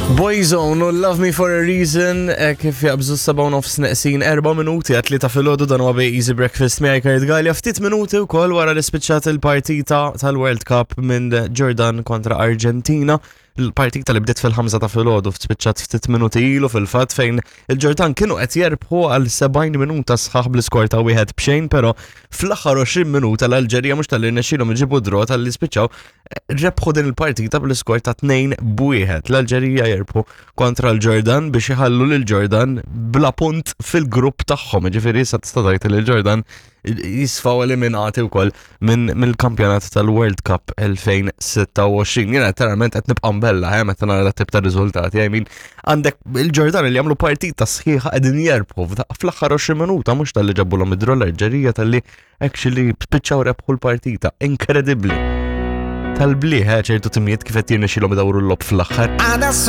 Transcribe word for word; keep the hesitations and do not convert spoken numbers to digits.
Boyzone u Love Me For A Reason eh, kif jaqbżu s-seba' u nofs neqsin erba' minuti għat-tlieta filgħodu. Dan huwa Easy Breakfast miegħi Kurt Galea, ftit minuti wkoll wara li spiċċat il-partita tal-World Cup minn Ġordan kontra Argentina. Il-partita li bdiet fil-ħamsa ta' filgħodu spiċċat ftit minuti ilu fil-fatt, fejn il-Ġordan kienu qed jerbħu għal sebgħin minuta sħaħ bl-iskor ta' wieħed b'xejn, però fl-aħħar għoxrin minuta l-Alġerija mhux talli rnexxielhom iġibu draw, talli spiċċaw eh, rebħu din il-partita bl-iskor ta' tnejn b'wieħed. L-Alġerija jerbħu kontra l-Ġordan biex iħallu lil Ġordan bla punt fil-grupp tagħhom. Ġifieri sa tista' tgħid li l-Ġordan jisfaw eliminati wkoll minn mill-kampjonat tal-World Cup elfejn u sitta u għoxrin. Jiena letteralment qed nibqa' mbella eh, meta nara tip ta' riżultati. I mean, għandek il-Ġordan li jagħmlu partita sħiħa qegħdin jerbħu, fl-aħħar għoxrin minuta mhux talli ġabulhom id-draw l-Alġerija, talli actually spiċċaw rebħu l-partita. Inkredibbli. Tal-bliħ, eh, ċertu timijiet kif qed jirnexxilhom idawru l-logħob fl-aħħar.